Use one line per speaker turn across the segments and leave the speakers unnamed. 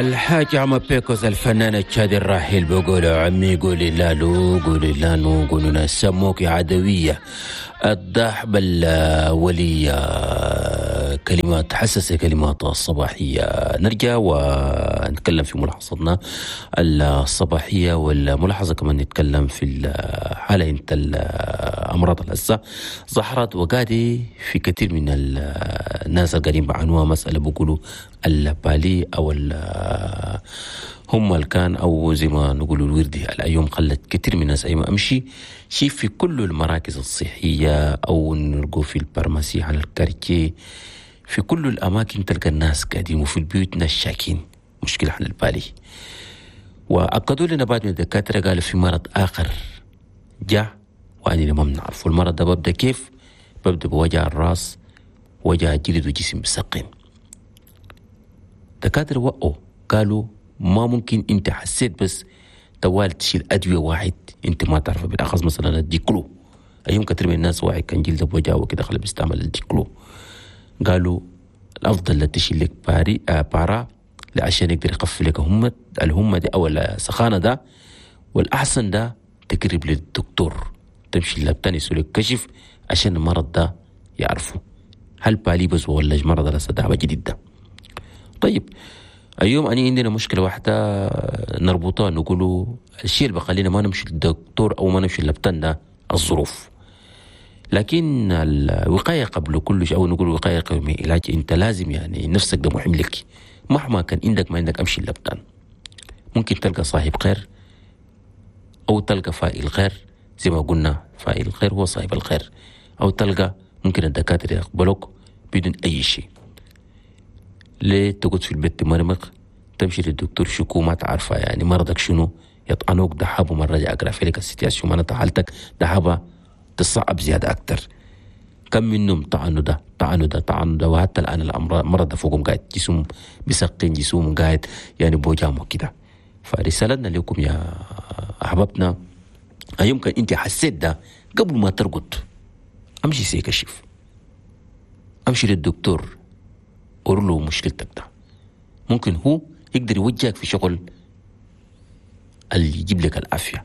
الحاج عم بيكوز الفنان التشادي الراحل بيقول عمي قولي لا لو قولي لا نو قولوا ناس سموك عدوية الضحب الولية. كلمات حساسة، كلمات الصباحية. نرجع ونتكلم في ملاحظتنا الصباحية، والملاحظة كمان نتكلم في الحالة انت الأمراض الهسة ظهرت وقادي في كثير من الناس القاعدين بعنوها مسألة بيقولوا ال palu أو هم الكان أو زي ما نقولوا الوردي. الأيام خلت كثير من الناس أيام أمشي شيء في كل المراكز الصحية أو نلقوا في ال pharmacie على ال quartier، في كل الأماكن تلقى الناس قاعدين، وفي البيوت ناس شاكين مشكلة عن ال palu. وأكدوا لنا بعض من الدكاترة قالوا في مرض آخر جاء وأنا ما بنعرفه. المرض ده ببدأ كيف؟ ببدأ بوجع الراس، وجع الجلد وجسم بسقين. دكاترة وقعوا قالوا ما ممكن انت حسيت بس توال تشيل أدوية واحد انت ما تعرفه، بالأخص مثلا الديكلو. أيام كثير من الناس واحد كان جلده بوجعه وكده خلى بيستعمل الديكلو. قالوا الأفضل لا تشيل لك باري بارا عشان يقدر يخفف لك الهمة دي أو السخانة ده، والأحسن ده تقرب للدكتور، تمشي للبتاني يسوي لك كشف عشان المرض ده يعرفه هل palu بس ولا مرض لسه ده جديد ده. طيب اليوم أني عندنا مشكلة واحدة نربطها، نقوله الشيء اللي بخلينا ما نمشي للدكتور أو ما نمشي للبتان ده الظروف، لكن الوقاية قبل كل شيء، أو نقول الوقاية قبل العلاج. أنت لازم يعني نفسك ده مهم لك، مهما كان عندك ما عندك أمشي للبتان. ممكن تلقى صاحب خير أو تلقى فائل خير، زي ما قلنا فائل الخير هو صاحب الخير، أو تلقى ممكن الدكاترة يقبلوك بدون أي شيء. ليه تقعد في البيت تمرمق تمشي للدكتور شكو ما تعرفها يعني مرضك شنو، يطعنوك دحابة مرة رجع أقرأ في لك ال situation معناتها حالتك دحابة تصعب زيادة أكتر. كم منهم طعنوا ده طعنوا ده طعنوا ده، وحتى الآن الأمراض مرض فوقهم قاعد جسم بسقين جسم قاعد يعني بوجامه كده. فرسالتنا لكم يا أحبابنا، يمكن أنت حسيت ده قبل ما ترقد أمشي سيكشف، أمشي للدكتور قول له مشكلتك ده، ممكن هو يقدر يوجهك في شغل اللي يجيب لك العافية.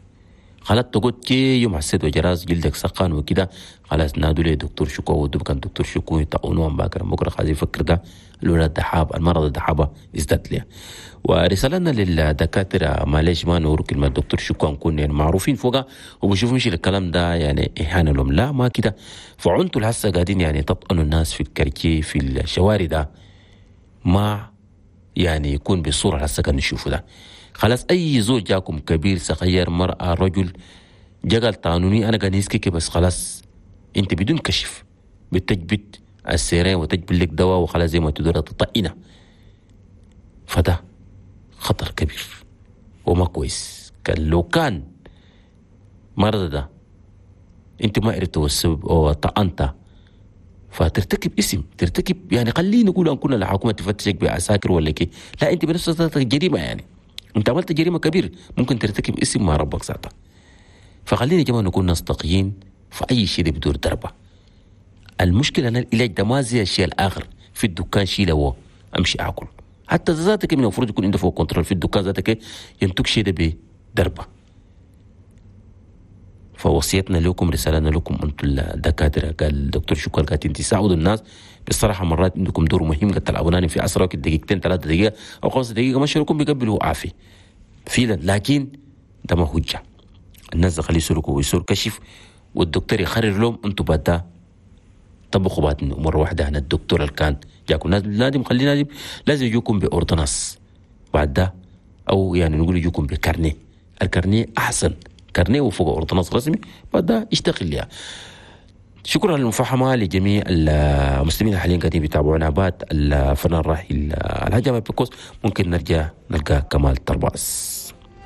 خلاص تقول كي يوم حسيت وجراس جلدك سخان وكده، خلاص نادوا لي دكتور شكو ودو كان دكتور شكو يطعونوهم باكر بكره خلاص يفكر ده الولاد دحاب المرض الدحابة ازداد ليه. ورسالتنا للدكاترة معلش ما نور كلمة دكتور شكو نكون يعني معروفين فوقها وبشوف مش الكلام ده يعني إهانة لهم، لا ما كده. فعنتوا الحسة قاعدين يعني تطعنوا الناس في الكركي في الشوارع ده ما يعني يكون بالصورة الحسة كان نشوفه ده. خلاص أي زوج جاكم كبير صغير مرأة رجل جا قال طعنوني أنا قاعد يسكك بس، خلاص أنت بدون كشف بتجبت السيرين وتجبل لك دواء وخلاص زي ما تدور تطئنه. فده خطر كبير وما كويس. كان لو كان مرض ده أنت ما عرفت السبب أو طعنته فترتكب اسم ترتكب يعني خلينا نقول أن كنا الحكومة تفتشك بعساكر ولا كي، لا أنت بنفسك جريمة، يعني أنت عملت جريمة كبيرة ممكن ترتكب اسم مع ربك ساعتها. فخلينا يا جماعة نكون ناس تقيين في أي شيء ده بدور دربة. المشكلة أن العلاج ده ما زي الشيء الآخر في الدكان شيء هو أمشي أكل، حتى ذاتك من المفروض يكون عنده فوق contrôle في الدكان ذاتك ينتج شيء ده بدربة. فوصيتنا لكم رسالتنا لكم أنتم الدكاترة، قال الدكتور شكر قالت أنت ساعدوا الناس بصراحة، مرات عندكم دور مهم قد تلعبوناني في أسرع دقيقتين 3 دقيقة أو 5 دقيقة ما شاركم بيقبلوا عافية فعلا، لكن ده ما حجة. الناس خليه يسلكوا ويسور كشف والدكتور يخرر لهم أنتم بعد طبقوا بعد مرة واحدة. عن الدكتور اللي كان جاكم لازم خلينا لازم يجوكم ب ordonnance بعد ده، أو يعني نقول يجوكم ب carnet، ال carnet أحسن carnet وفوق ordonnance رسمي بعد ده اشتغل ليها. شكرا للمفاهمة لجميع المسلمين الحاليين قاعدين بيتابعونا. بعد الفنان الراحل الحاج بيكوس ممكن نرجع نلقى كمال ترباس.